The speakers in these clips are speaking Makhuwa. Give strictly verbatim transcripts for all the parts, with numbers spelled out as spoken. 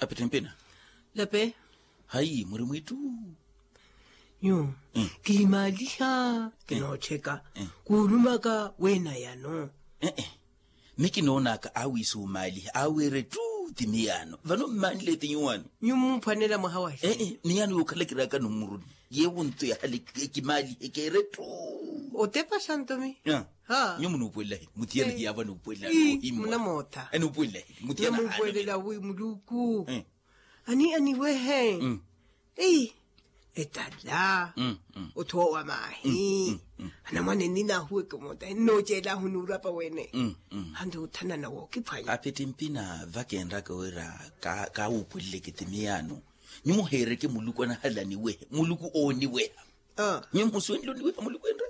Apittimpina. Lape. Hayi muri mwiittu. Nyu. Kiimaaliha kinoottheka. Kuulumaka weenayano. Ee. Mi kinoonaka awiisuumaaliha awiire ttu ti miyaano vano mmaanile ti nyuwaano. Nyu mumphwanela mwaha wahi. Ee miyaano yookhala kiraakano mmuruni. Yeewo nto yahale ekimaaliha ekeere ttu. Otepa xanto mi. Nyu munuupuwelahi mutiyana hiyaavo anuupuwelahi. Munamootha. Anuupuwelahi mutiyana haale. Munuupuwelela wi muluku. Ani aniwehe. Ei. Etala. Othoowa maahi. Anamwane ninahuweke omoota nnooceelahu nuurapa wene. Hante othanana wookiphwanya. Apittimpina vakenraka wira. Kaawuupweleleke ti miyaano. Nyumo heereke muluku anahalaniweha muluku ooniweha. Nyumo musuwenle oniweha muluku enre.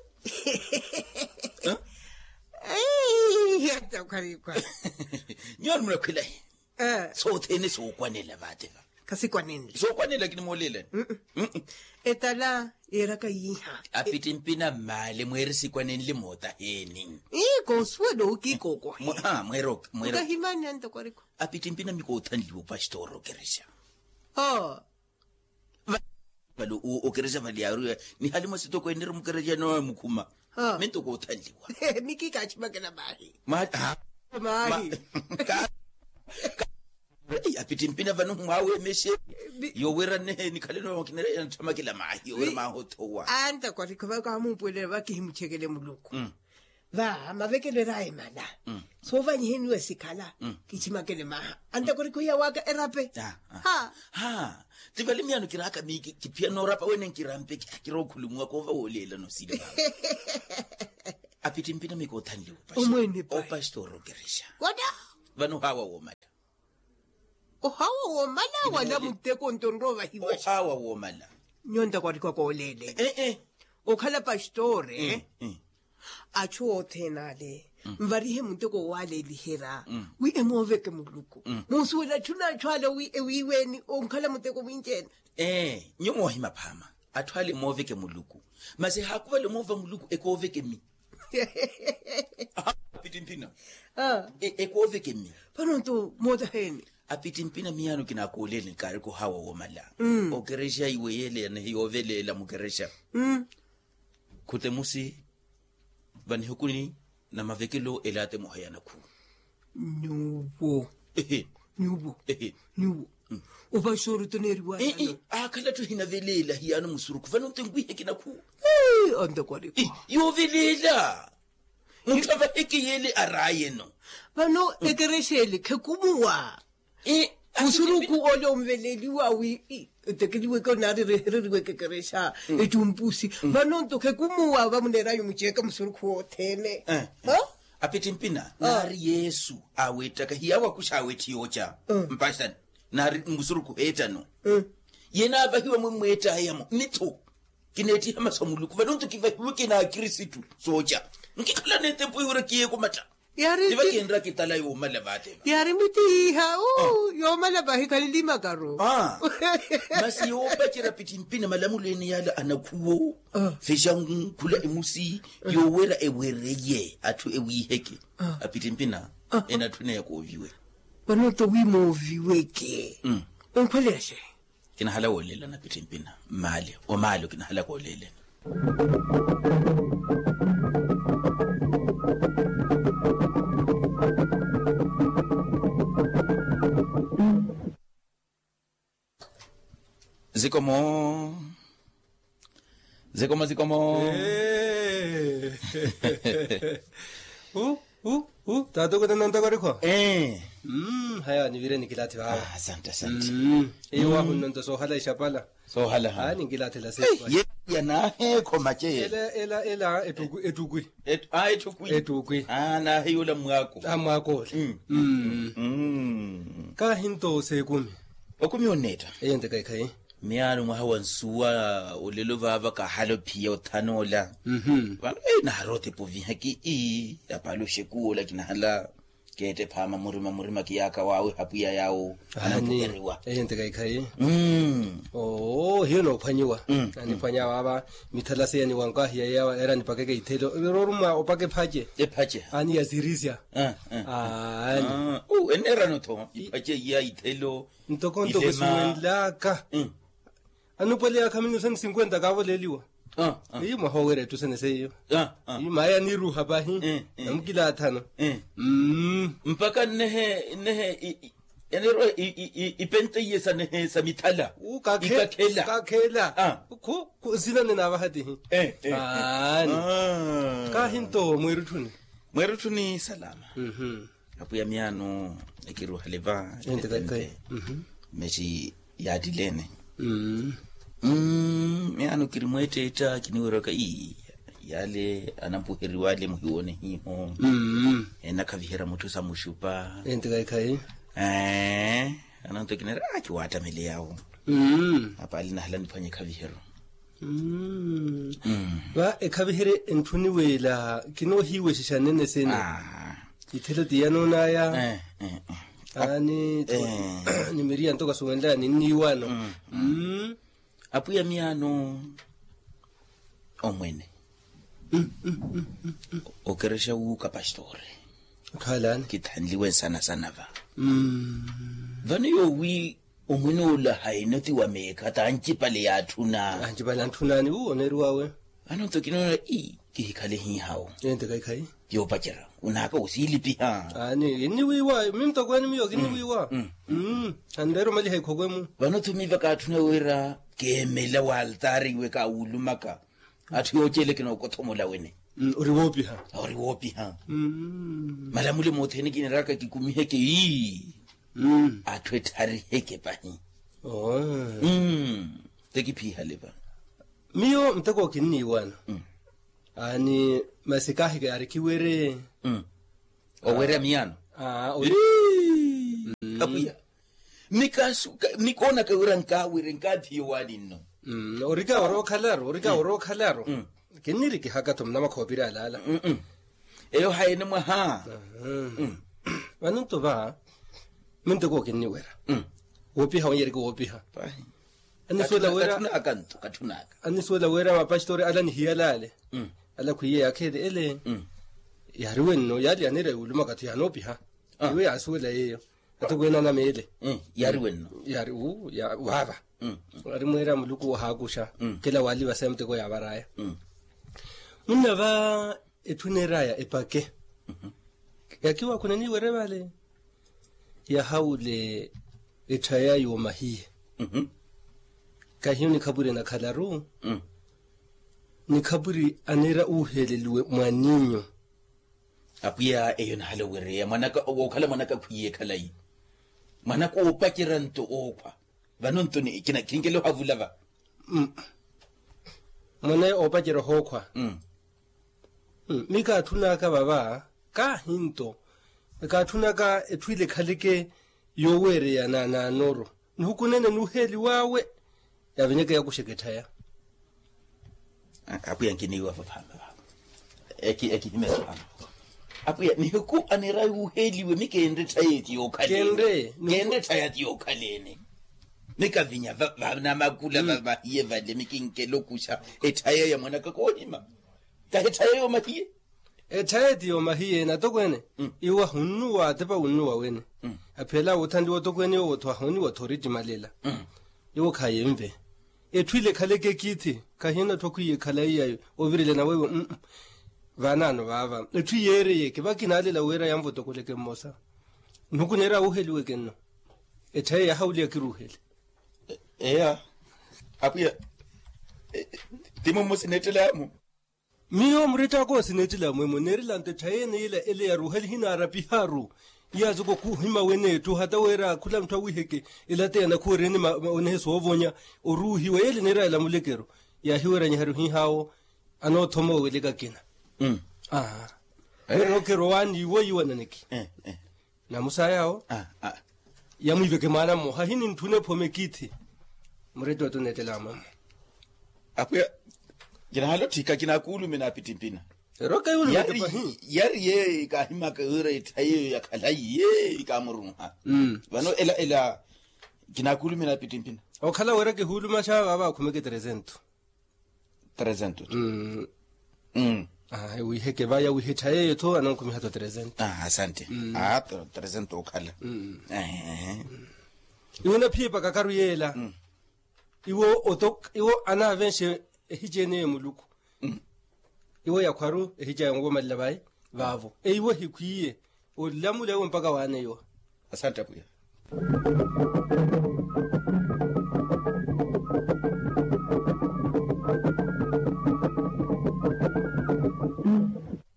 Hata okhwarikwa. Nyuwo animunakhwelahi. Sothene sookwanela vaate va. Khasikwanenle sookwanela kinimooleelani. Etala yeeraka yiiha. Apittimpina mmaale mweeri sikwanenle mootaheeni. Ii koosuwela owo kiikookohe. Mweerooka mweerooka. Okahimani anto kwarikwa. Apittimpina mi koothanliwa opastoro okerexa. Vale okerexa vale yaaruya nihali mwa sitoko eneri mukerexa nooyo mukhuma. Minto koothanliwa. Mikikachimakela maahi. Maahi. Apittimpina vano mwawemexe. Yowira nehe nikhaleno kinere yanthamakela maahi yowira maahothowa. Anta kwarikhova kamuupuwelele vakihimuchekele muluku. Va mavekelo eraya emala. Soovanyiheniwa esikhala. Kichimakele maha antakorikho hiyawaka erape. Ha. Ti vale miyaano kiraaka miiki kiphiyana orapa wene nkirampe kira okhulumuwa koova wooleelana osili. Apittimpina miiki othanliwa. Opastoro okerexa. Vano ohawa woomala. Ohawa woomala wala mutteko nto onrowa vahiwa. Ohawa woomala. Nyonta kwarikwaka ooleeleni. Okhala pastore. Achu othene ale nvarihe muteko owalelihera wi emooveke muluku. Muusuwela atthu n'achu ale wi ewiiweeni onkhala muteko mwinci-ene. Ee nyuwo moohima phaama. Atthu ale emooveke muluku. Masi ehaakuvala omoova muluku ekooveke mmi. Apittimpina. Ekooveke mmi. Vano nto mootaheeni. Apittimpina miyaano kinaakoolele nkaarika ohawa woomala. Okerexa iwe yeele yanehi yooveleela mukerexa. Khutemusi vanihukuni na mavekelo elaate moha ya nakhu. Nyuwo. Nyuwo. Nyuwo. Opastori oto neeriwa. Aakhala atthu ehinaveleela hiyaano musurukhu vano nto enwiiheke nakhu. Antakwari. Yooveleela. Mutthu avaheke yeele araayeno. Vano ekerexa ele khekumuwa. Musurukhu ole onveleliwa wi etekeliweke onaari erehereriweke ekerexa. Ettumpusi vano nto khekumuwa vamuneer'anyu muceeke musurukhu wothene. Apittimpina naari yesu aaweettaka hiyaawo akuxa aaweetti yooca. Mpaxani naari musurukhu heettano. Ye naavahiwa mwe mmweettaayamo mitho. Kineettiha masu a muluku vano nto kivahiweke n'akristu. Sooca nkikhala n'etempu iwira kiyeeko matta. Tiva kinraka etala yoomala vaate. Yaari mittihiha yoomala vahi khalili makaru. Masi yoopacerya pittimpina malamulo ene yaala anakhuwo. Fexangu khula emusi yoowera ewereye atthu ewiiheke. Apittimpina ene atthu eneya kooviwe. Vano nto wi mooviweke. Onkhwaleya xe? Kinahala wooleelana pittimpina mmaale omaale okinahalaka ooleelana. Zikomo. Zikomo zikomo. Taata okutana ontakorikho. Haya nivire nikilathi vawe. Asante asante. Iyo wahunna nto soohala ixapala. Soohala ha. Ninkilathela sepa. Yanaaheekho mace ela ela ela ettukwi. Ettukwi. Ettukwi. Naahiyula mmwaako. Mmwaako ole. Kaahi nto seekumi. Okumi onneetta. Eyo nte kaikhayi. Miyaano mwaha wa nsuwa olelo vaava kahala ophiya othanoola. Vano naari otepa ovihaki ii apaale oxekuwa ola kinahala. Keette phaama murima murima kiyaaka waawe hapwiya yaawo. Anampuheriwa. Eyo ntekhaikhayi. Oo hiyo noophwanyiwa. Aniphwanya waava mithalasi yaniwankahiya yawa era nipakeke ithelo rooruma opaka ephace. Ephace. Ani yasirisya. Aani. Enneerano-tho iphace iya ithelo. Ntoko ntoko esuwenlaka. Anupwele yaakha minusa ni sinkwenta kaavoleeliwa. Ii mwaha oweera ettusene seiyo. Ii maaya niiruha pahi. Namukilaathano. Mpakha nnehe nnehe enerwa ipenteiye sa nehe sa mithala. Kakhela. Kakhela. Kho nsina nne naavahatihi. Aani. Kaahi nto mweerutthuni. Mweerutthuni salama. Apwiya miyaano ekiruhale va. Ente. Meti yaattileene. Miyaano kiri mweetteetta kiniwerwaka ii yaale anampuheriwa ale muhiwoone hiiho. Enakhaviherya mutthu sa muxupa. Ente. Ananto kinera akiwaattamele yaawo. Apaali nahala niphwanye ekhaviheryo. Va ekhaviherye entthuniweela kinoohiiwexexa nene sene. Ithelo ti yanoonaya. Aani. Ni miriya nto kasuwenlaya ninniiwano. Apwiya miyaano omwene okerexa wuuka pastore. Khalani kithanliwe nsana sana va. Vano yoowi omwene ola haino ti wa meekha tancipale yaatthuna. Ancipale antthunani wu oneeriwawe. Vano nto kinoona ii kihikhale hiihawo. Ente kaikhayi. Yoopacerya unaaka wosiilipiha. Aani kinniwiiwa mi mutokweeni miyo kinniwiiwa. Anreera omaliha ikhokwe-mu. Vano-tho miiva kaatthuna wira keemela wa altaari iwe kaawulumaka. Atthu yooceela kinookothomola wene. Ori woopiha. Ori woopiha. Malamule mothene kiniraka kikumiheke ii atthu etthariheke pahi. Te kiphiihale va. Miyo muteko kinniiwana. Aani masi kaahike ari kiwere. Owerya miyaano. Apwiya. Mikoonaka wira nkaawire nkaathiye owaani nno. Orika orookhalaro orika orookhalaro. Kinnirikihaka-tho munamakhoopiri alaala. Eyo hayi ni mwaha. Vano nto va minteko kinniwerya woopiha wanyereke woopiha. Anisuwela wira anisuwela wira mapastori ala nihiyala ale ala khwiiye yaakheele ele. Yaariwe nno yaali yaneera yuulumaka-tho yaanoopiha. Iwe yaasuwela yeeyo. Atokweene anameele yaari wenno. Yaari wu ya waava. Ari mweera muluku wahaakuxa kila waaliva sa emuteko yaavaraya. Munna va etthu eneeraya epake yakiwakhuna eniiwere vale. Yahawule etthaya yoomahiye kahiyo nikhapwiri enakhalaru. Nikhapwiri aneera uuheleliwe mwaninyu. Apwiya eyo nahala owereya mwanaka wookhala mwanaka khwiiye khalayi. Mwanaka oopacerya nto ookhwa. Vano nto kinkela ohavula va. Mwana oopacerya ohookhwa. Mi kaatthunaka vava kaahi nto kaatthunaka etthu ile ekhaleke yooweereya naanooro. Nihukunene nuuheeliw'awe yaavenyeke yakuxeke etthaya. Apwiya nkiniiwa vaphaama vavo. Ekihimesa vavo. Apwiya nihiku aneera yuuheeliwe mi keenre etthaya eti yookhalene. Keenre etthaya eti yookhalene. Mi kavinya vanamakula vavahiye vale mi kinkela okuxa etthaya ya mwanaka koohima. Kahi etthaya yoomahiye. Etthaya eti yoomahiye natokweene iwo ahunnuwa atepa wunnuwa wene. Aphiyala woothanliwa otokweene yoowo-tho ahooniwa-tho orittimalela. Iwo khayenve. Etthu ile ekhaleke ekiithi khahina etthu akhwiiye ekhalayi ya ovirelana weiwo. Vaanaano vaava etthu yeereyeke vakinaalela wira yanvotokoleke mmosa. Nhuku neera wuheliweke nno. Etthayi yahawuliya kiruuhele. Eya. Apwiya. Timo mmosi neettelamu. Miyo murettaka owo sineettela mwemo neerela nto etthayi ene yila ele yaruuhali hinaarapiharu. Iyaazoko khuhima wene etthu hata wira khula mutthu awiiheke. Elateya nakhuwereeni onehe soovonya oruuhiwa yele neera ela mulekero. Yaahiweranyiheryo hiihaawo anoothoma oweleka kina. Aa. Weerokero waani iwo iwananeki. Namusaya awo. Yamwiiveke mwaana mmoha hinintthunepo mekiithi. Murette oto neettela amwamwe. Apwiya. Kinahala otthika kinakuulume naapittimpina. Erooka yuulumaka pahi. Yari yeeyo kaahimaka wira etthayi eyo yakhala yeeyo kaamurunha. Vano ela ela kinaakuulumya na pittimpina. Okhala wira kihuulumaxa vaava akhumeke tresento. Tresento. Wiheke vaya wihe etthayi eyo-tho anankhumiha-tho tresento. Asante. Tresento okhala. Iwo naphiye pakakaru yeela. Iwo oto iwo anaavenxe ehici ene ya muluku. Iwo yakhwaru ehici aya onwomalela vayi vaavo eiwo ehikhwiye olamula iwo mpaka waaneiwa. Asante apwiya.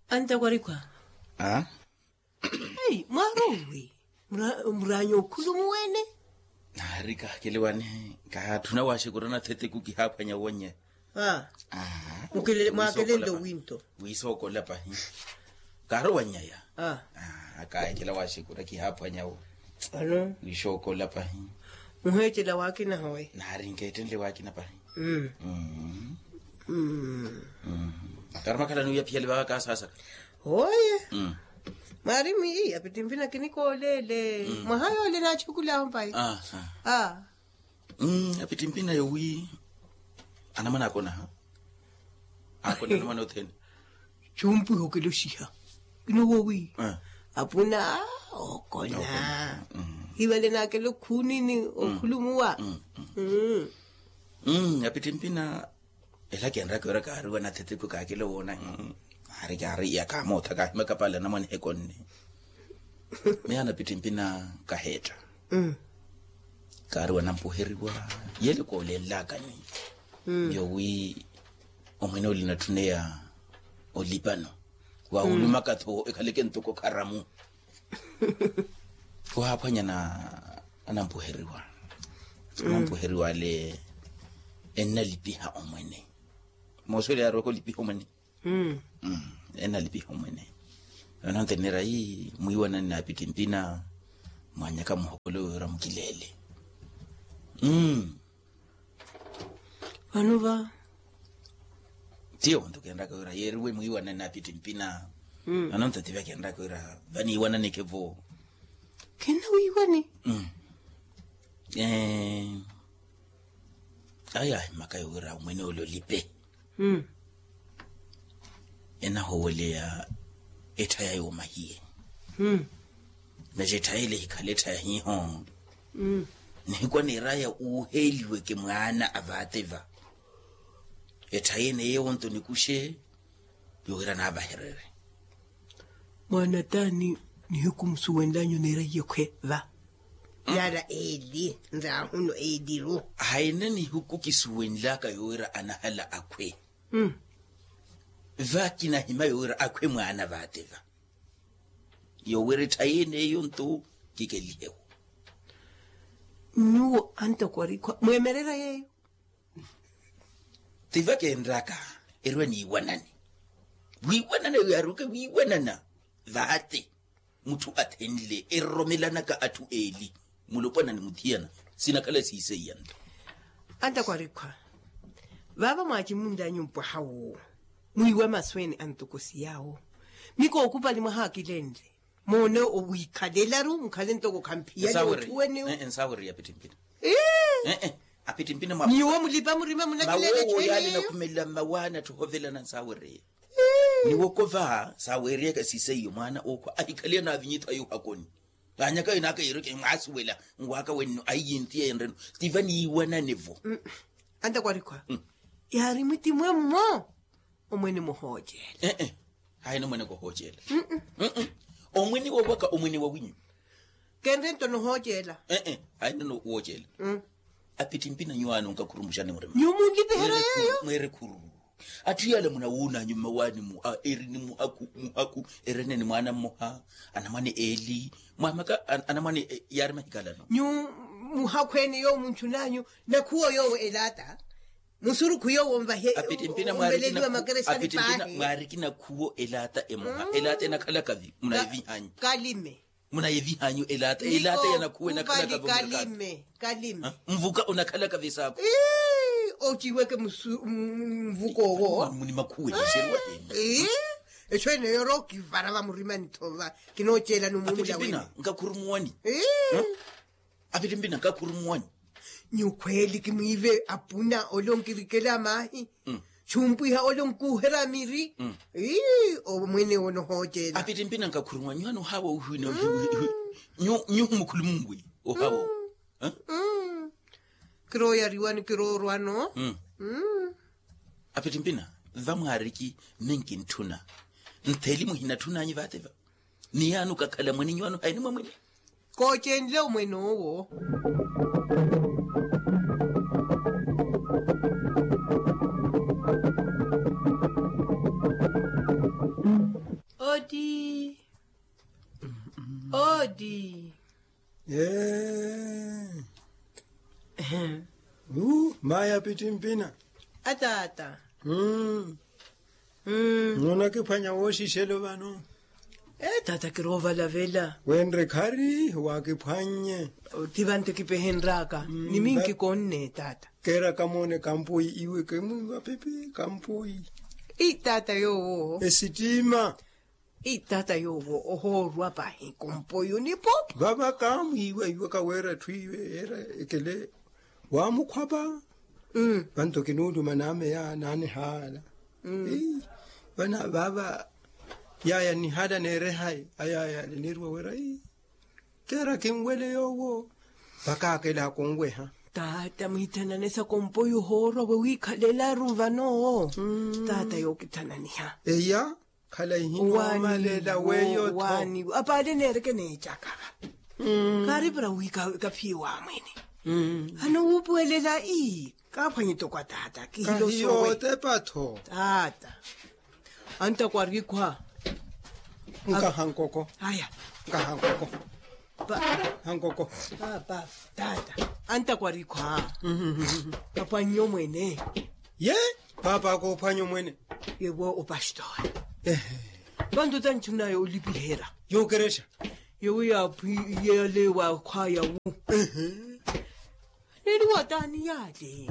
Antakwarikwa. Ei mwaari owi muraanya okhulumu wene? Naari kaakeliwani kaatthuna waaxekurana thetiku kihaaphwanya owannyaya. Mwaakelenle owinto. Wiisookola pahi. Kaari owannyaya. Kaahikela waaxekura kihaaphwanya wo. Wiisookola pahi. Muheecela waakina hawe? Naari nkeettenle waakina pahi. Kaari makhalani wiya phiyale vaaka kaasaasaka. Oye. Mwaari mwiiya pittimpina kinikooleele. Mwaha yoole naachukulaaho mpayi. Apittimpina yowi anamwane akonaha. Akona anamwane othene. Chumpwiha okeloxiha. Kinowowi. Apuna okona. Hivale naakela okhuunini okhulumuwa. Apittimpina ela kenraka wira kaariwa nathetiku kaakela owoona. Ari kaari iya kaamootha kaahimaka paala anamwane ekonne. Miyo anapittimpina kaheetta. Kaariwa nampuheriwa. Yele koolenlakani. Yowi omwene ole natthuneya olipano. Wahulumaka-tho ekhaleke ntoko kharamu. Wahaaphwanya na anampuheriwa. Anampuheriwa ale ennalipiha omwene. Mooswele yaarowaka olipiha omwene. Ennalipiha omwene. Onanteneera ii mwiiwanani na apittimpina. Mwaanyaka muhokolo wira mukileele. Vano va. Tiyo onto kenraka wira yeeriwe mwiiwanani na apittimpina. Vano onto tiva kenraka wira vaniiwananeke vo. Khenna wiiwani? Ayo ahimaka yowira omwene ole olipe. Enahoweleya etthaya yoomahiye. Naci etthaya ele ehikhala etthaya hiiho. Nihiku aneeraya uuheeliweke mwaana a vaate va. Etthaya ene yeewo nto nikuxe yowira naavahererye. Mwaana taani nihiku musuwenlanyu neeraiye khwe va? Yaara eli nraahuno eliru. Haina nihiku kisuwenlaka yowira anahala akhwe. Va kinahima yowira akhwe mwaana vaate va. Yowira etthayi ene eyo nto kikelihewo. Nyuwo antakwarikwa mweemererya yeeyo. Tiva kenraka erwe niiwanani. Wiiwanana eyo yaaruke wiiwanana. Vaate mutthu athenle eroromelanaka atthu eeli. Mulopwana ni muthiyana sinakhala siiseiya nto. Antakwarikwa vaava mwaacimunlanyu mpwaha woowo. Mwiiwa masu ene antokosi yaawo. Mikookupali mwahaakilenle moone owiikhalelaru mukhale ntoko khamphiyani otthuwene. Nsaawereye apittimpina. Apittimpina mwa nyuwo mulipa murima munakilela etthu eneyo. Mawoowo yaale nakhumelela mmawaana atthu ohovelana nsaawereye. Niwokova saawereyaka siseiyo mwaana ookhwa ahikhaliya naavinyitho ayo ohakoni. Vaanyaka yinaaka yiireke mwaasuwela nwaaka wenno aiyintiya yenreno. Tiva niiwanane-vo. Antakwarikwa yaari mwitimwe mmo. Omwene muhooceela. Ee haina omwene kohooceela. Omwene wowaka omwene wawinyu. Kenre nto nohooceela. Ee haina wooceela. Apittimpina nyuwaani onkakhurumuxani murima nyuwo munlipiherya yeeyo. Mweere khuru. Atthu yaala munawuunanyu mmawaani mu a eri ni muhakhu muhakhu. Erene ni mwaana mmoha anamwane eeli. Mwamaka anamwane yaari mahikalano. Nyu muhakhweene yoowo munchunanyu nakhuwo yoowo elaata. Musurukhu yoowo onvahe. Apittimpina mwaariki nakhuwo elaata emoha elaata enakhalaka vi munayevihanyu. Kalime. Munayevihanyu elaata elaata yanakhuwo enakhalaka vi kalime. Kalime. Mvuka onakhalaka vi saakhu. Ociweke mvuka owo. Muni makhuwe. Ii. Eco ene yorookivara vamurimani thova. Kinooceelani omumula wene. Apitimpina nkakhurumuwani. Apitimpina nkakhurumuwani. Nyukhweeli kimwiive apuna ole onkirikela maahi. Xumpwiha ole onkuuhera miri. Omwene owo nohooceela. Apitimpina nkakhurumuwani nyuhana ohaawa ohiwina. Nyuhumukhulumunwi ohaawa. Kirooyariwani kiroorwano. Apitimpina vamwaariki ninkintthuna. Ntheli muhinatthunanyi vaateva. Ni yaani okakhala mwene nyuwaani ohaini mwamwene. Koocenle omwene owo. Oti. Oti. Ee. Uu mayi apitimpina. Ataata. Munakiphwanya wooxixelo vano. Ee taata kiroovalavela. Wenre khari waakiphwannye. Ti vanto kipehenraka ni minki konne taata. Keeraka moone kampoyi iwe kemwiiwa pipi kampoyi. Ii taata yoowo. Esittima. Ii taata yoowo ohoorwa pahi kompoyo ni popo. Vava kaamwiiwa iwe kaweera etthu iwe yeera ekele. Waamukhwapa. Vanto kinuuluma naameya naanihaala. Vana vava. Yaya nihaala neerehayi ayaya niirwa wira. Keera kinwele yoowo. Vakaakela akunweha. Taata muhithanane sa kompoyo ohoorwa we wiikhalelaru vano. Taata yookithananiha. Eya. Khala ihinoomalela weyo tho. Apaale neereke neecaka. Kaari para wi kaphiye waamwene. Hano wuupuwelela ii kaaphwanye toko ataata kihilo sowe. Kahiyootepa tho. Taata. Antakwa rikhwa. Nkaha nkoko. Aya. Nkaha nkoko. Hankoko. Paapa. Taata. Antakwa rikhwa. Aphwanye omwene. Ye. Paapa akoophwanya omwene. Yewo opastori. Vanto tanchunaye olipiherya. Yookerexa. Yewo yaaphwi yalewa khwaya wu. Neeriwa taani yaale.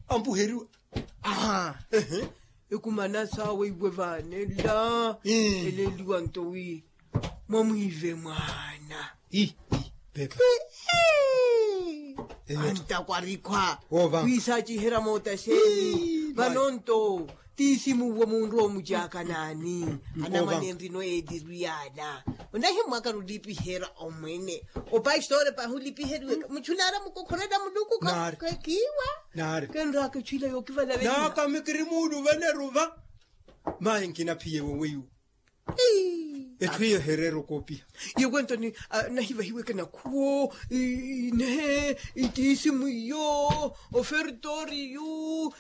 Ampuheriwa. Aha. Ekumana sawe iwe vaanela. Eleeliwa nto wi. Mwamwiive mwaana. Antakwa rikhwa. Wiisaciherya mootaxeeni vano nto. Tiisimu uwo munru omucaaka naani? Anamwane nrino eeliru yaana. Onahimmwaka rulipiherya omwene. Opastori pahulipiheriweka muchunaara mukokhorela muluku. Kiiwa. Kenraaka echwila yookivala naaka mikiri muuluvale ruva. Mayi nkinaphiye woweyu. Etthu iyo hereera okoopiha. Yewo ento nahivahiweke nakhuwo. Nehe itiisimu iyo. Ofertori yu.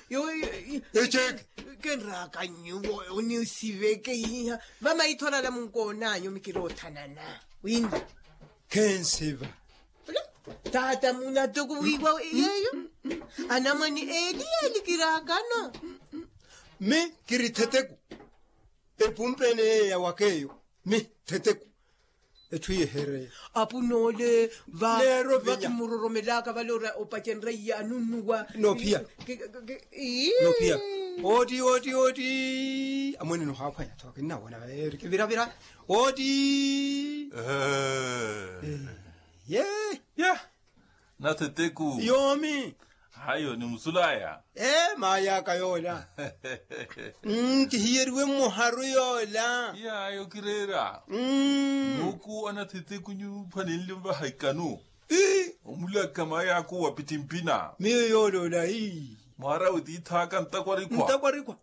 Eceke. Kenraaka nyuwo onisiveke iha. Vamaitho olala munkoonanyu mikiroothanana. Wina. Khensiva. Taata munatuku wiiwa yeeyo. Anamwane eeli yeelikiraakano. Mi kiri theteku. Epumpeene yeeya wakeeyo. Mi theteku. Etthu yehereya. Apunoole. Vakimuroromelaka vale ora opacenrya iye anunnuwa. Noophiya. Noophiya. Oti oti oti. Amwene nohaaphwanya tho kinnawona vale eri kiviravira. Oti. Ye. Ya. Natheteku yoomi. Hayo ni musulaya. Ee maayaka yoola. Kihiyeriwe mmoharu yoola. Yayo kireera. Nuku anatheteku nyuphwanenle mvaha ikanu. Omulaka maayaka owapittimpina. Miyo yooloola. Mwaarawe tiithaka ntakwarikwa. Ntakwarikwa.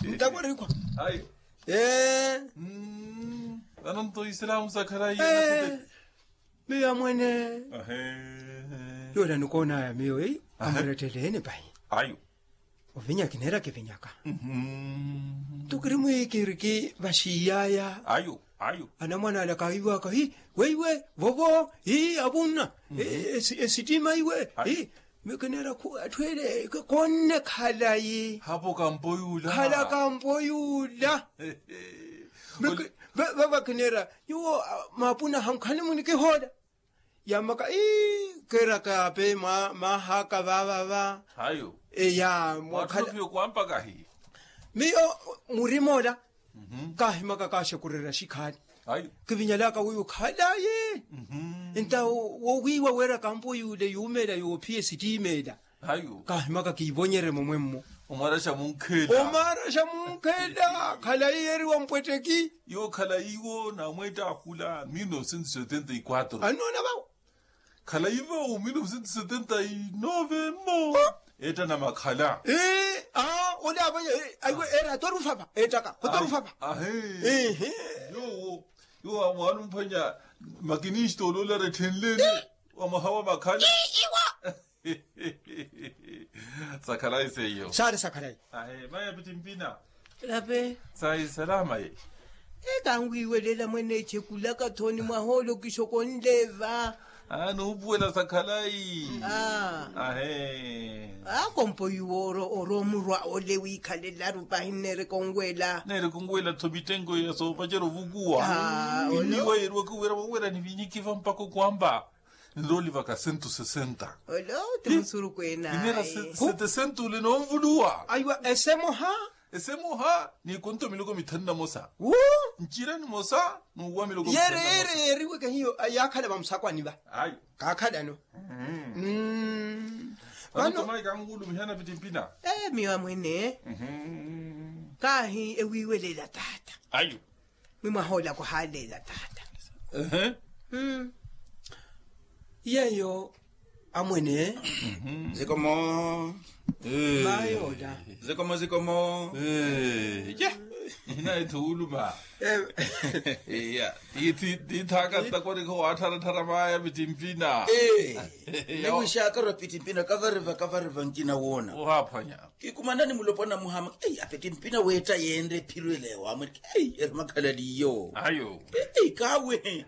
Ntakwarikwa. Ayo. Ee. Vano nto isilamu sakharayi. Miyo amwene. Yoola nikoonaya miyo eyi. Amuretteleene pahi. Ayo. Ovinya kineera kivinyaka. Nto kiri mwiikiriki vaxiiyaya. Ayo. Ayo. Anamwana ala kaahiwaka hi weiwe vovo hi avunna. Esittima iwe hi. Mikineera atthu ele koonne khalayi. Hapo kampoyula. Khala kampoyula. Vava kineera nyuwo maapuna hankhanle munikihoola. Yaamaka ii keeraka ape maahaka vaavava. Hayo. Eya. Mwatthupiyo kwampaka hi. Miyo murimoola kaahimaka kaaxekurerya xikhaani. Kivinyalaka wiiwo khalayi. Nta wowiiwa wira kampo yuule yuumeela yoophiya esittimeela. Kaahimaka kiivonyerye momwemmo. Omwaraxa munkhela. Omwaraxa munkhela khalayi yeeriwa mpwetteki. Yo khalayiwo namweetta akhula mil novecentos setenta y quatro. Anoona vawo. Khalayi vawo mil novecentos setenta y nove mmo. Eetta namakhala. Ole avanya. Aiwe eera atorufava ettaka kotorufava. Ahe. Yowo. Yo amwaana omphwanya makinisto oloola retthenleni. Wamwaha wa makhala. Sakhalayi seiyo saari sakhalayi. Ahe maya pittimpina. Lape. Sayi salama ye. Ekanwiiwelela mwene echekulaka thoni mwahoolo kixoko nleva. Nuupuwela sakhalayi. Ahe. Akompo yuwo oro omurwa ole wiikhalelaru pahi nneereka onwela. Nneereka onwela tho mittenko ya soopacerya ovukuwa. Iniwa yeeriwaka owira wawira nivinyikiva mpakha okwamba. Nrooli vaka sentu sesenta. Olo ti musurukhu enaye. Inera sete sentu ole noonvuluwa. Aiwa esemoha. Esemoha ni konto miloko mithanu na mosa. Ncira ni mosa. Nuuwa miloko mithanu na mosa. Yeeriweke hiyo yaakhala vamusakwani va. Ayo. Kaakhalano. Vano. Vano tomai kanwulumihana pittimpina. Miyo amwene. Kaahi ewiiwelela taata. Ayo. Mwimwaha olako haleela taata. Yeeyo amwene. Zikomo. Mayola. Zikomo zikomo. Inayi thuuluma. Tiithaaka ntakwarikha waattharatthara maya pittimpina. Niwixaaka ora pittimpina kavariva kavariva nkina woona. Ohaaphwanya. Kikumanani mulopwana muhama. Apettimpina weetta yeenre ephiro elewa amwereke. Eri makhalaliyo. Ayo. Kawehe.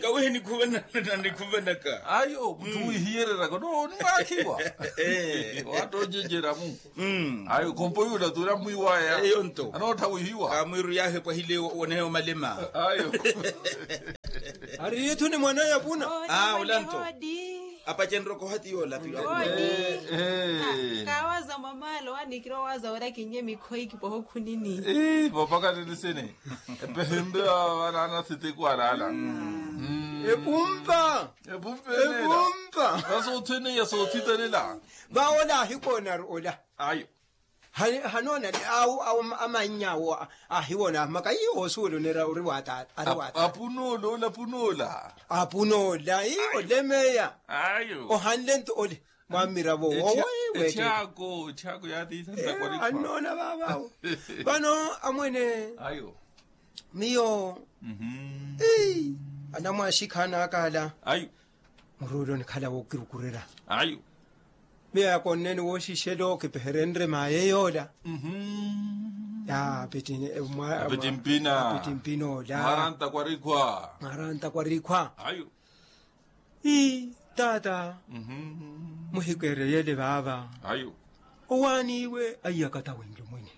Kawehe nikhuvanaka. Ayo mutthu wihiyereraka no oniwaakhiwa. Waattonjenceramu. Ayo khompo yuula tuula mwiiwaya. Eyo nto. Anoottha wihiwa kamwiiru yaahepwahile woneya omalema. Ayo. Ari itthu ni mwaneya puna. Aa ola nto. Apacenrye okoha ti yoola ti. Kaawaza mwamaalo wanikira owaza wira kinnye mikhoyi kipoha okhunini. Vopaka tini sini. Epehenre vanaana sitiku alaala. Epumpa. Epumpa. Vasootthene ya soothitalela. Vawola ahikoona ari ola. Ayo. Hanoona awo awo amannya awo ahiwona maka iyo osuwela onera ori wa taata ari wa taata. Apunoola ole apunoola. Apunoola iyo olemeya. Ayo ohanle nto ole. Mwamiravo wowo. Ethyako ethyako yaatiisa ntakwarikwa. Annoona vaavawo. Vano amwene. Ayo. Miyo. Anamwaaxikha anakala. Ayo. Muruule onikhala wookirukurera. Ayo. Miyo yakonneeni wooxixelo kipeherenre maye yoola. Apiti mpina. Apiti mpina ola. Mwarantakwa rikhwa. Mwarantakwa rikhwa. Ayo. Ii taata. Muhikeereyele vaava. Ayo. Owaani iwe aiyakata winli omwene.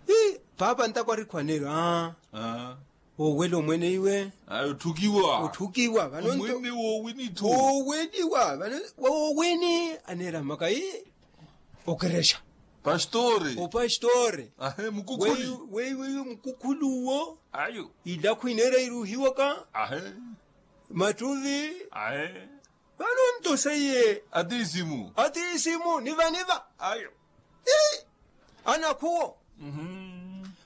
Ii paapa ntakwa rikhwa neero aa. Woowela omwene iwe. Ayi otthukiwa. Otthukiwa vano nto. Omwene woowini tho. Wooweliwa vano. Woowini aneera maka ii. Okerexa. Pastore. Opastore. Ahe mukukhuli. Weiwe iwe mukukhuli uwo. Ayo. Ilakhu ineera iruhiwaka. Ahe. Mattuvi. Ahe. Vano nto seiye. Atiisimu. Atiisimu niva niva. Ayo. Anakhuwo.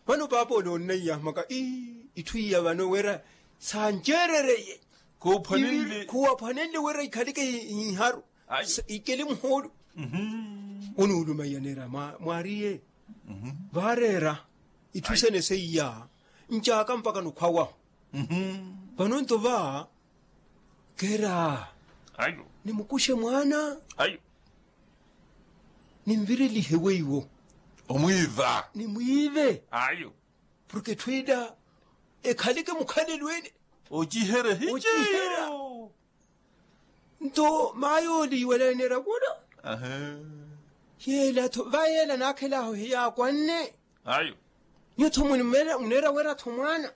Vano paapa ole onnaiya maka ii itthu iya vano wira sancerereye. Khuwaphwanenle wira ikhalike iharu. Ikele muhoolo. Onuuluma iyaneera mwaariye. Vaareera itthu sene seiya ncaaka mpaka nukhwawahu. Vano nto va keera. Nimukuxe mwaana. Ninvirelihe weiwo. Omwiiva. Nimwiive. Ayo. Porke etthu ila ekhaleke mukhalelo ene. Ocihere hiceyo. Nto maaya ole iwaleneera kula. Yeela-tho va yeela naakhel'ahu hiyakwanne. Ayo. Nyuwo-tho muneera wera-tho mwaana.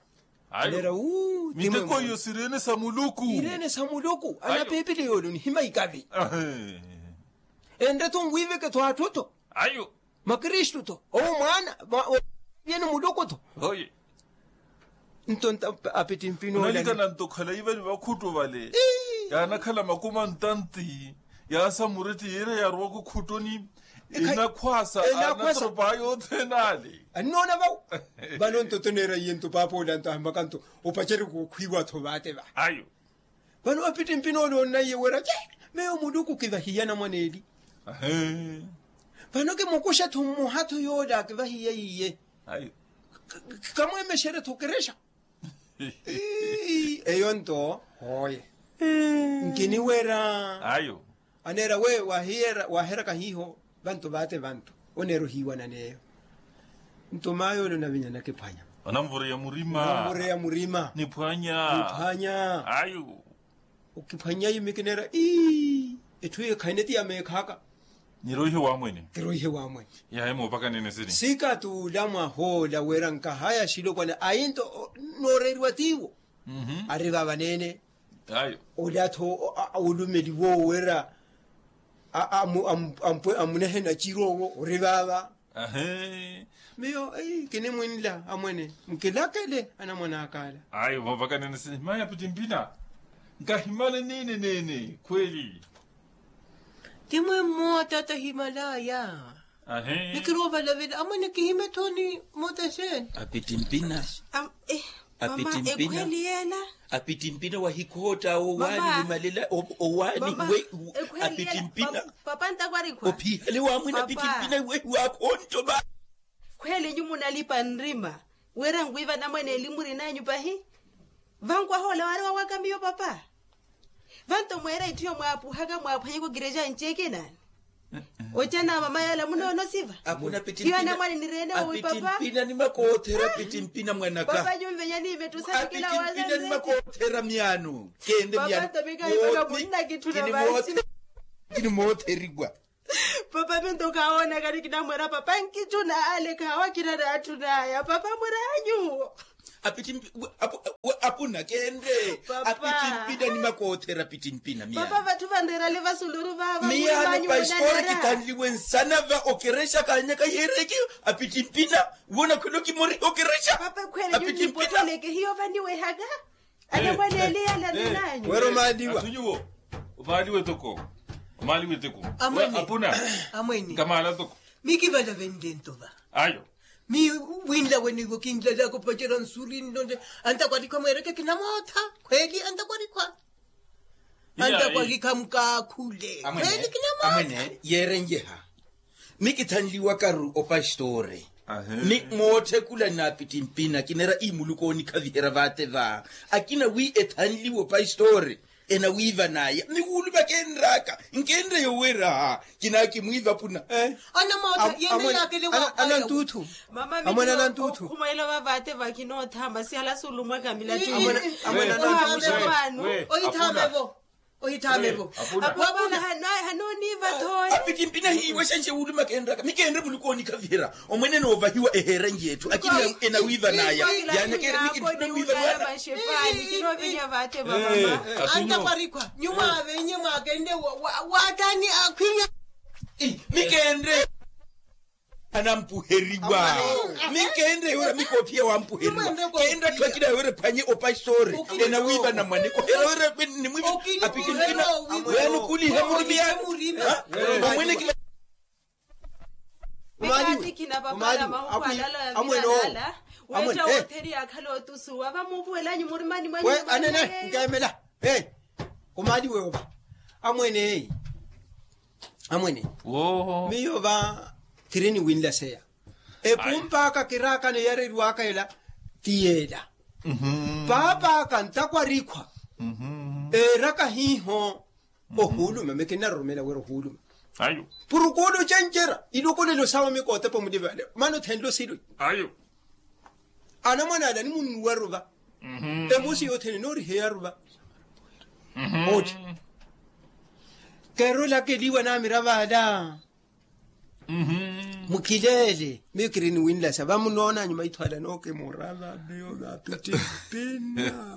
Ayo. Miteko iyo sireene sa muluku. Ireene sa muluku ana piipili yoole onihima ikavi. Enre-tho nwiiveke-tho atthu-tho. Ayo. Makristu-tho owo mwaana. Yeno muluku-tho. Nto apittimpini ola. Onalikana nto khala ivali vakhuttu vale. Yaanakhala makumi antanti. Yaasa muretti yiira yaarowaka okhuttuni. Enakhwaasa. Anatoropa yothene ale. Annoona vawo. Vano nto toneera iye nto paapa ola nto ahimmaka nto opacerye kookhwiiwa-tho vaate va. Ayo. Vano apittimpini ole onnaiye wira ce. Meyo muluku kivahiya anamwane eli. Vano kimukuxa-tho mmoha-tho yoole akivahiya iye. Kamweemexerye-tho okerexa. Eyo nto hooye. Nkiniwera. Ayo. Aneera we waheraka hiiho vantu vaate vantu. Oneera ohiiwanana eyo. Nto mayo ole onavinya nakiphwanya. Onanvureya murima. Onanvureya murima. Niphwanya. Niphwanya. Ayo. Okiphwanyayi mikineera ii. Etthu eyo khaine ti ya meekhaaka. Niroihe wamwene. Kiroihe wamwene. Yahe moopakanene sini. Sikatuula mwahoola wira nkahaya xilopwana ayi nto. Nooreeriwa tiiwo. Ari vaavaneene. Ayo. Olatho olumeliwa owo wira amunehe nacirowo ori vaava. Miyo kinimwinla amwene nkilakele anamwan'aka ala. Ayo vavakanene sini mayi apittimpina. Nkahimale nene nene khweli. Ti mwe mmoota tahimalaya. Nikirowa ovalavela amwene kihime thoni. Mmoota xeeni? Apittimpina. Apittimpina. Ekhweli yeela. Apittimpina wahikhootta owaani wimalela owaani. Apittimpina. Papa ntakwarikwa ophihale wamwene apittimpina wehiwaakha ontto va. Khweli nyu munalipa nrima wira nwiiva anamwane eli murin'anyu pahi. Vankwaha ola waari wawaka miyo papa. Vanto mweera itthu yo mwaapuhaka mwaaphwanyaka okirexa nci ekinaani. Ocana mama yala munoono siva. Iyo anamwane nireene owi papa. Apittimpina ni makoothera apittimpina mwanaka. Papa nyumvenya niimettusani kila waza nreti. Apittimpina ni makoothera myaano. Kende myaano. Papa nto mikahimaka munnakitthuna vaci. Kini mootheriwa. Papa minto khawoonaka nikinamwera papa nkicuna ale khawa kinana atthu naya papa mwiranyu. Apittimpina kenre. Apittimpina ni makoothera apittimpina miyano. Papa vatthu vanreerale vasuluru vava miyano paistori kithanliwe nsana va okerexa kanyaka yeereke. Apittimpina woona khwelo kimori okerexa. Papa ekhwele nyunipotoleke hiyo vaniwehaka. Anamwane eli yala ninanyu. Wero maaliwa. Athu nyuwo omaaliwe toko. Omaaliwe toko. Amwene. Apuna. Amwene. Nkamaala toko. Mikivala venle ntova ayo. Mi winla wenivo kinlalaka opacera nsuri nnonde. Antakwarikha mwereke kinamootha. Khweli antakwarikha. Antakwarikha mukaakhule khweli kinamootha. Amwene yeerenjeha. Mikithanliwakaru opastori. Ni mootthekula n'apittimpina kineera ii muluku oonikhaviherya vaate va. Akina wi ethanliwe opastori enawiivanaya ni wuuluma kenraka. Nkenreyo wira kinaakimwiiva puna. Anamootha yene yaakele waapaya. Anantuuthu. Amwene anantuuthu. Okhumwela vavaate vakinootha masi halasulumwaka milattu. Amwene anantuuthu. Ohithamevo. Ohithamevo. Apuna. Hanooniiva thooye. Apittimpina hiiwa xanxe wuuluma kenraka mikenre muluku oonikhaviherya. Omwene enoovahiwa eheera nci etthu akina enawiivanaya. Yaanakere mikinttuna wiivanaya. Antakwarikha nyumwa avenye mwakenre. Waatani akhwinya. Mikenre. Anampuheriwa. Mikenre yura mikoophiya wampuheriwa. Kenre atthu akina yura ephwanye opastori enawiiva namwaniko hera yura nimwiiva. Apittimpina weya nukuliha murumiyani. Omwene kila. Mekatikina papala mahuku alala. Amwene oo. Wetta wotheri yakhala otusuwa vamuupuwelanyu murimani mwanyu. Anene nkemela. Omaali weyo va. Amwene. Amwene. Miyo va. Kiri ni winlaseya. Epump'aka kiraakano yareriwaka ela ti yeela. Paap'aka ntakwarikhwa. Eeraka hiiho. Ohuuluma mikinaroromela wira ohuuluma. Purukulu ocencerya ilokolelo sawe mikootepa omulivale maana othenle osilo. Anamwane ala nimunnuwaru va. Emosi yothene nooriheyaru va. Oti. Kerolakeliwa namiravo ala. Mukhileele miyo kiri niwinlasa vamunoona nyuma ithu ala nookimurava miyo vapittimpina.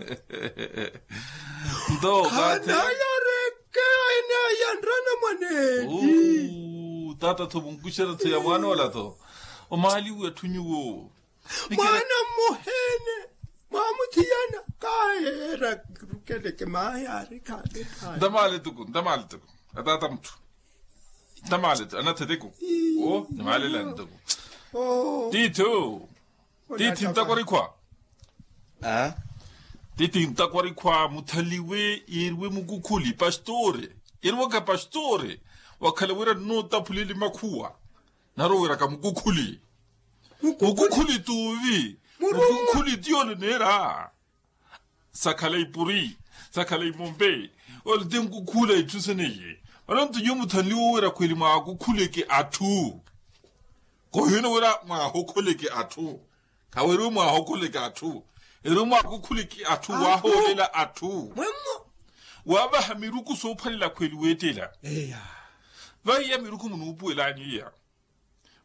Nto khanayareke. Eneeya nrana mwaneeli. Taata-tho munkuxera-tho ya mwaan'ola-tho. Omaaliwe atthu nyuwo. Mwaana mmuheene, mwaamuthiyana. Kaayeera rukeleke maayaari khaale khaale. Ntamaale tuku ntamaale tuku. Ataata mutthu. Ntamaale tuku anatheteku. Oo nimaalelani tuku. Tiithi. Tiithi ntakwa rikhwa. Tiithi ntakwa rikhwa muthaliwe yeeriwe mukukhuli pastore. Yeeriwaka pastore. Wakhala wira nnootaphuleli makhuwa. Naroweraka mukukhuli. Mukukhuli tuuvi. Mukukhuli tiyoole neera. Sakhala ipuri, sakhala imompe. Ole ti nkukhula itthu seneye. Mano nto nyuwo muthanliwe wira khweli mwaakukhuleke atthu. Koohiyona wira mwaahokholeke atthu. Khaweeriwe mwaahokholeke atthu. Eriwe mwaakukhuleke atthu waahoolela atthu. Waavaha miruku soophwalela khweli weettela. Vaiya miruku munuupuwelanyu iya.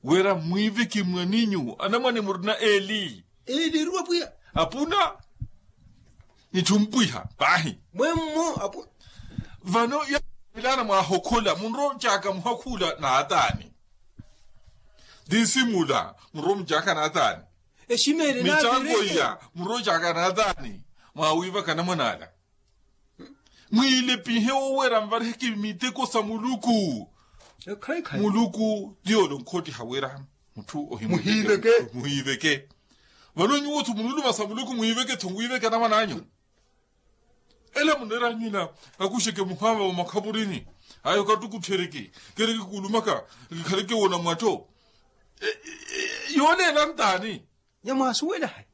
Wira mwiiveke mwaninyu anamwane murina eli. Eli eriwa pwiya. Apuna. Nitthu mpwiha paahi. Mwemmo apu. Vano ya milana mwaahokhola munroocaka muhakhula naatani. Ti simula munroomucaka naatani. Eximeele naatani. Micango iya munroocaka naatani. Mwaawiivaka anamwane ala. Mwiilepihe owerya nvariheke miteko sa muluku. Muluku ti ole onkhottiha wira mutthu ohimuhiiveke. Vano nyuwo-tho munuluma sa muluku mwiiveke-tho mwiiveke anamwan'anyu. Ela muneer'anyu ela akuxeke muhaava wa makhapurini. Ayo katukutthereke kereke kuulumaka. Kikhaleke wona mwattho. Yooleela ntaani? Nyamwaasuwela hai?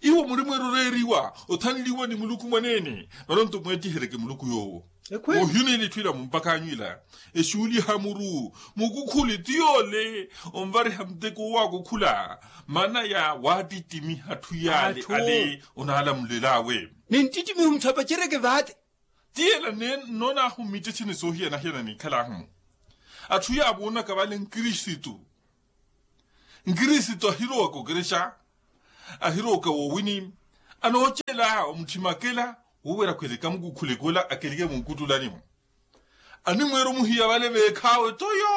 Iwo muri mweeroreeriwa othanliwa ni muluku mwaneene. Vano nto mweettihereke muluku yoowo. Ohina ila itthu ila mumpak'anyu ila. Exuuliha muru mukukhuli ti yoole onvariha muteko owaakukhula. Mana ya waattittimiha atthu yaale ale onaalamulel'awe. Ninttittimiha omutthu apacereke vaate. Ti ela nnoon'ahu mmittetthe ni soohiyana-hiyana niikhal'ahu-mo. Atthu yaavoonaka vale nkristu. Nkristu ahirowaka okerexa. Ahirowaka woowini. Anoocela omutthima akela. Woowera akhweleka mukukhuleke ola akeleke munkuttulani-mo. Animweera omuhiya vale veekhaawe toyo.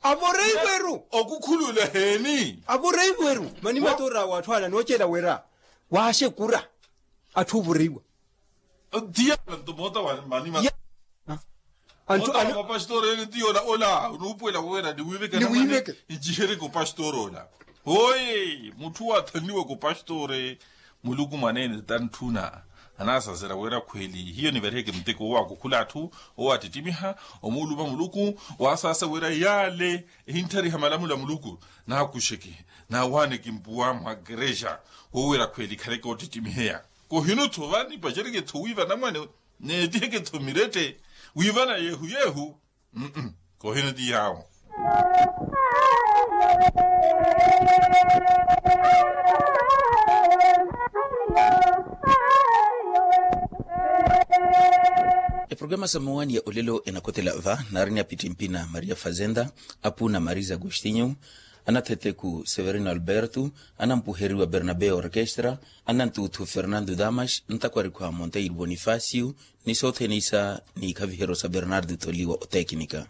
Avoreiweru. Okukhulula heeni. Avoreiweru mani matoor'awe atthu ale anoocela wira waaxekura. Atthu ovoreiwa. Tiyala nto moota wa mani ma. Anthu moota wa mapasitore ene tiyola ola onuupuwela wowera niwiiveke anamwane. Ncihereke opasitore ola. Hoye mutthu waathanliwaka opasitore. Muluku mwaneene tantthuna. Anaasazera wira khweli hiyo nivariheke muteko owaakukhula atthu. Owaattittimiha omuuluma muluku. Waasaasa wira yaale ehinttariha malamulo a muluku. Naakuxeke naawaaneke mpuwa mwa kerexa. Wowera khweli ikhaleke oottittimiheya. Kohino-tho vanipacereke-tho wiiva anamwane. Neettiheke-tho mirette wiivana yeehu yeehu. Kohino ti yaawo. Eprogramu sa mowani ya olelo enakhotela va naari ni apittimpi na maria fazenda, apuuna marisa agostinho, anathetheku severino alberto, anampuheriwa bernabe orkestra, anantuuthu fernando damas, ntakwarikhu a monteiro bonifacio, ni sothene isa ni ikhaviheryo sa bernardo tholiwa otekinika.